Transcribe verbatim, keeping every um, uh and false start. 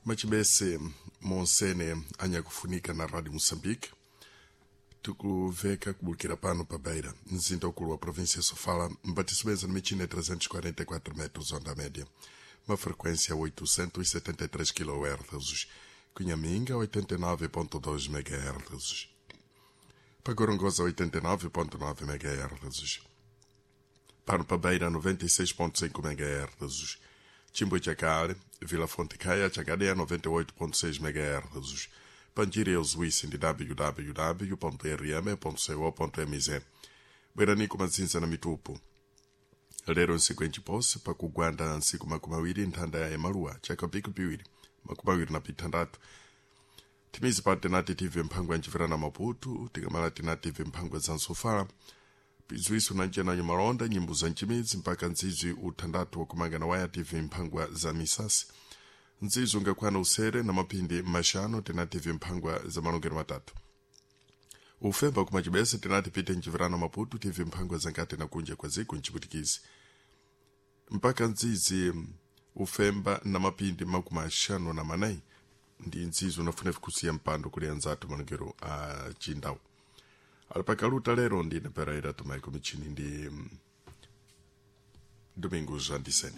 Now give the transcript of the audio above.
Machibese monsene anyakufunika na Rádio Moçambique tukuveka kubukira pano pa Beira, mzinda ukulu wa província Sofala, mbatisubeza na michina trezentos e quarenta e quatro metros onda média, uma frequência oitocentos e setenta e três quilohertz, Cunhaminga oitenta e nove ponto dois megahertz, Pagorongosa oitenta e nove ponto nove megahertz, pano pa Beira noventa e seis ponto cinco megahertz, Chimbuchacare, Vila Fonte Caia, Chacadeia noventa e oito ponto seis megahertz, Panjiri Zuíça de w w w ponto r m ponto co ponto m z. Bwerani kumatsinza na mitupu. Lero nsiku enchiposi pakugwanda nsiku makumi awiri nthanda ya emaluwa chaka piku piwiri makumi awiri na pithandatu. Timizi pa tinati T V mphangwa ya na Maputo, tikamala tinati T V mphangwa za Nsofala, pizuiso na nchenanyo malonda, nyimbo za nchimidzi mpaka ndzizwi uthandatu wakumanga na waya T V mphangwa za misasi. Nzizo ngakwana usere na mapindi mashano tinati vimphangwa za malongero matatu. Ufemba kumachibese tinati pite nchivirano Maputo T V mphangwa zankati na kunja kwa ziku nchiputikizi. Mpaka nzizi ufemba na mapindi makumi ashanu na manai ndi nzizo unafuna vikusiya mpando kuli anzatu malongero a chindawu. Alipakaluta lero ndine Pereira Tomaiko michini ndi Domingos Andiseni.